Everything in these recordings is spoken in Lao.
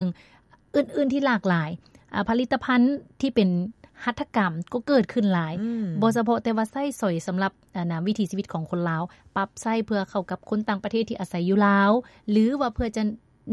ອື່ນໆທີ່ຫຼາກຫຼາຍ ອາ ຜະລິດຕະພັນທີ່ເປັນຫັດຖະກຳກໍເກີດຂຶ້ນຫຼາຍ ອືມ ບໍ່ສະເພາະແຕ່ວ່າໃຊ້ສອຍສຳລັບ ອັນນະ ວິຖີຊີວິດຂອງຄົນລາວ ປັບໃຊ້ເພື່ອເຂົ້າກັບຄົນຕ່າງປະເທດທີ່ອາໄສຢູ່ລາວ ຫຼືວ່າເພື່ອຈະ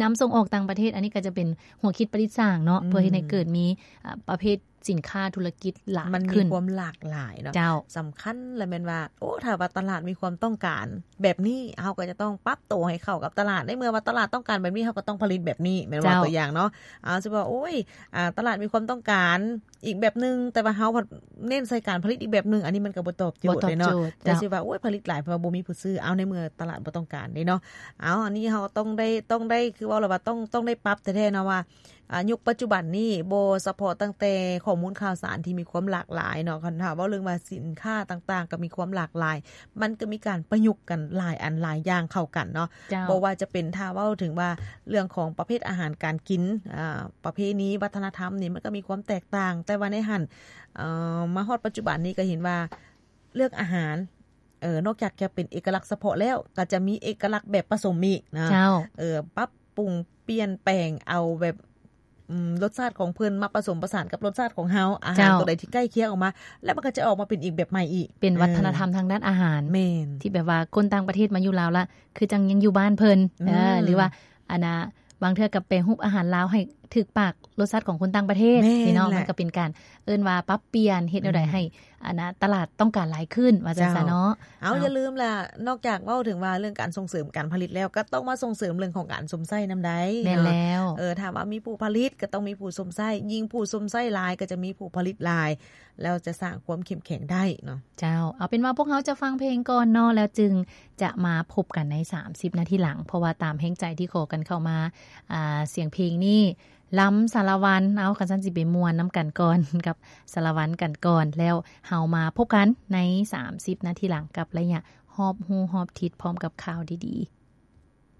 ນຳສົ່ງອອກຕ່າງປະເທດ ອັນນີ້ກໍຈະເປັນຫົວຄິດປະດິດສ້າງເນາະ ອືມ ເພື່ອເຮັດໃຫ້ເກີດມີ ອາ ປະເພດສິນຄ້າທຸລະກິດຫຼາຍຂຶ້ນ ມັນມີຄວາມຫຼາກຫຼາຍເນາະ ເຈົ້າ ສຳຄັນລະແມ່ນວ່າ ໂອ້ ຖ້າວ່າຕະຫຼາດມີຄວາມຕ້ອງການແບບນີ້ ເຮົາກໍຈະຕ້ອງປັບໂຕໃຫ້ເຂົ້າກັບຕະຫຼາດ ໃນເມື່ອວ່າຕະຫຼາດຕ້ອງການແບບນີ້ ເຮົາກໍຕ້ອງຜະລິດແບບນີ້ ແມ່ນບໍ່? ເຈົ້າ ຕົວຢ່າງເນາະ ອາ ຊິວ່າ ໂອ້ຍ ອາ ຕະຫຼາດມີຄວາມຕ້ອງການ ອີກແບບໜຶ່ງ ແຕ່ວ່າເຮົາພັດເນັ້ນໃສ່ການຜະລິດອີກແບບໜຶ່ງ ອັນນີ້ມັນກໍບໍ່ຕອບໂຈດເດ້ເນາະ ແຕ່ຊິວ່າ ໂອ້ຍ ຜະລິດຫຼາຍເພາະວ່າບໍ່ມີຜູ້ຊື້ ເອົາ ໃນເມື່ອຕະຫຼາດບໍ່ຕ້ອງການເດ້ເນາະ ເອົາ ອັນນີ້ເຮົາຕ້ອງໄດ້ ຕ້ອງໄດ້ ຄືເວົ້າແລ້ວວ່າຕ້ອງ ຕ້ອງໄດ້ປັບແທ້ໆເນາະວ່າ ອາ ຍຸກປັດຈຸບັນນີ້ ບໍ່ສະເພາະຕັ້ງແຕ່ຂໍ້ມູນຂ່າວສານທີ່ມີຄວາມຫຼາກຫຼາຍເນາະ ຄັນຖ້າເວົ້າເລື່ອງວ່າສິນຄ້າຕ່າງໆກໍມີຄວາມຫຼາກຫຼາຍ ມັນກໍມີການປະຍຸກກັນຫຼາຍອັນຫຼາຍຢ່າງເຂົ້າກັນເນາະ ເຈົ້າ ບໍ່ວ່າຈະເປັນ ຖ້າເວົ້າເຖິງວ່າເລື່ອງຂອງປະເພດອາຫານການກິນ ອາ ປະເພນີວັດທະນະທຳນີ້ ມັນກໍມີຄວາມແຕກຕ່າງ ແຕ່ວ່າໃນຫັ້ນ ເອີ ມາຮອດປັດຈຸບັນນີ້ກໍເຫັນວ່າເລື່ອງອາຫານ ເອີ ນອກຈາກຈະເປັນເອກະລັກສະເພາະແລ້ວ ກໍຈະມີເອກະລັກແບບປະສົມອີກນະ ເຈົ້າ ເອີ ປັບປຸງປ່ຽນແປງເອົາແບບ ອືມ ລົດຊາດຂອງເພິ່ນມາປະສົມປະສານກັບລົດຊາດຂອງເຮົາ ອາຫານ ເຈົ້າ ຕົວໃດທີ່ໃກ້ຄຽງອອກມາ ແລ້ວມັນກໍຈະອອກມາເປັນອີກແບບໃໝ່ອີກ ເປັນວັດທະນະທຳ ເອີ ທາງດ້ານອາຫານ ແມ່ນ ທີ່ແບບວ່າຄົນຕ່າງປະເທດມາຢູ່ລາວລະ ຄືຈັ່ງຍັງຢູ່ບ້ານເພິ່ນ ອືມ ເອີ ຫຼືວ່າ ອັນນະ ບາງເທື່ອກໍແປຮູບອາຫານລາວໃຫ້ຖືກປາກລົດຊາດຂອງຄົນຕ່າງປະເທດ ແມ່ນ ນີ້ເນາະ ແຫຼະ ມັນກໍເປັນການເອີ້ນວ່າປັບປ່ຽນ ເຮັດແນວໃດ ອືມ ໃຫ້ ອັນນະ ຕະຫຼາດຕ້ອງການຫຼາຍຂຶ້ນ ວ່າຈັ່ງຊັ້ນເນາະ ເຈົ້າ ເອົາ ເອົາ ຢ່າລືມລະ ນອກຈາກເວົ້າເຖິງວ່າເລື່ອງການສົ່ງເສີມການຜະລິດແລ້ວ ກໍຕ້ອງມາສົ່ງເສີມເລື່ອງຂອງການຊົມໃຊ້ນຳໄດ໋ ແມ່ນແລ້ວ ເນາະ ເອີ ຖ້າວ່າມີຜູ້ຜະລິດກໍຕ້ອງມີຜູ້ຊົມໃຊ້ ຍິ່ງຜູ້ຊົມໃຊ້ຫຼາຍກໍຈະມີຜູ້ຜະລິດຫຼາຍ ແລ້ວຈະສ້າງຄວາມເຂັ້ມແຂງໄດ້ເນາະ ເຈົ້າ ເອົາເປັນວ່າພວກເຮົາຈະຟັງເພງກ່ອນເນາະ ແລ້ວຈຶ່ງຈະມາພົບກັນໃນສາມສິບນາທີຫຼັງ ເພາະວ່າຕາມແຮງໃຈທີ່ຂໍກັນເຂົ້າມາ ອາ ສຽງເພງນີ້ ລຳສາລະວັນ ເອົາ ຄັນຊັ້ນຊິໄປມ່ວນນຳກັນກ່ອນ ກັບສາລະວັນກັນກ່ອນ ແລ້ວເຮົາມາພົບກັນໃນສາມສິບນາທີຫຼັງ ກັບໄລຍະຮອບຮູ້ຮອບທິດ ພ້ອມກັບຂ່າວດີໆ.